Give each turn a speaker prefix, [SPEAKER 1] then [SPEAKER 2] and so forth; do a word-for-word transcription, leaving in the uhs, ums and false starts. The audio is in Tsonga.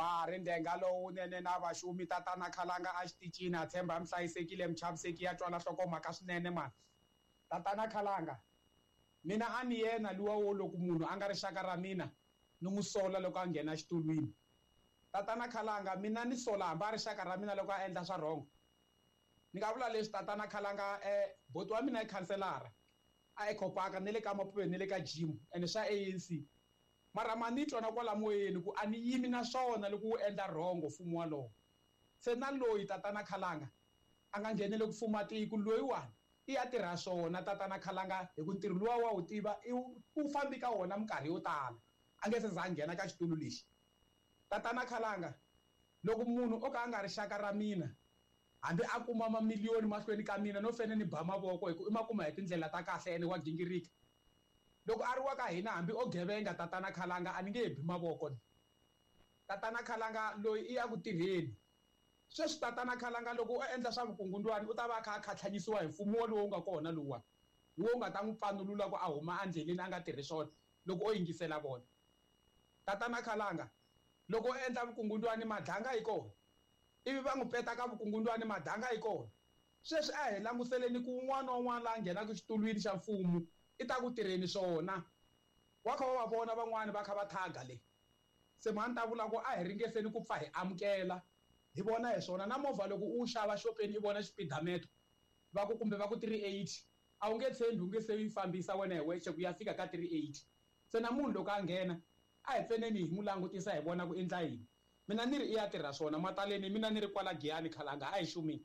[SPEAKER 1] Bari ndenga lowunene na vaxumi tatana Khalanga a xitichini a tshemba mi hlayisekile mi chaviseki ya twala nhlokomhaka swinene mani. Tatana Khalanga mina a ni yena luwa wo loko munhu a nga rixaka ra mina ni n'wi sola loko a nghena xitulwini. Tatana Khalanga mina ni sola hambi a rixaka ra mina loko a endla swa wrong. Ni nga vula leswi tatana Khalanga eh boti wa mina i khanselara a Eco Park ni le ka Mapuve ni le ka gym ene swa A N C. Mara ma ni twa na kwala moyeni ku a ni yimi na swona loko wu endla wrong mfumo walowo. Se na loyi tatana Khalanga a nga nghenele ku fuma tiko loyiwani i ya tirha swona tatana Khalanga hi ku ntirho luwa wa wu tiva i wu fambi ka wona minkarhi yo tala a nge se za a nghena ka xitulu lexi. Tatana Khalanga loko munhu o ka a nga rixaka ra mina hambi a kuma mamiliyoni mahlweni ka mina no fene ni ba mavoko hi ku i ma kuma hi tindlela ta kahle ene wa gingirika. Loko a ri wa ka hina hambi o gevenga tatana Khalanga a ni nge bi mavoko ni. Tatana Khalanga loyi i ya ku tirheni. Sweswi tatana Khalanga loko o endla swa vukungundwani u ta va a kha a khatlhanyisiwa hi mfumo wolowo wu nga kona luwa. Hi wo nga ta n'wi pfanulula ku a huma endleleni a nga tirhi swona loko o yingisela vona. Tatana Khalanga loko o endla vukungundwani madlanga yi kona. Ivi va n'wi peta ka vukungundwani madlanga yi kona. Sweswi a hi languseleni ku un'wana na un'wana la nghenaka xitulwini xa mfumo i ta ku tirheni swona. Wa kha wa va vona van'wani va kha va thaga le. Se mhani ta vula ku a hi ringeseni ku pfa hi amukela hi vona hi swona na movha loko u xava xopeni i vona xipidameto va ku kumbe va ku three eighty a wu nge tshembi u nge se yi fambisa wena hi wexe ku ya fika ka three eighty. Se na munhu loko a nghena a hi pfeneni hi n'wi langutisa hi vona ku endla yini. Mina ni ri i ya tirha swona mataleni mina ni ri kwala Giyani Khalanga a hi xumile.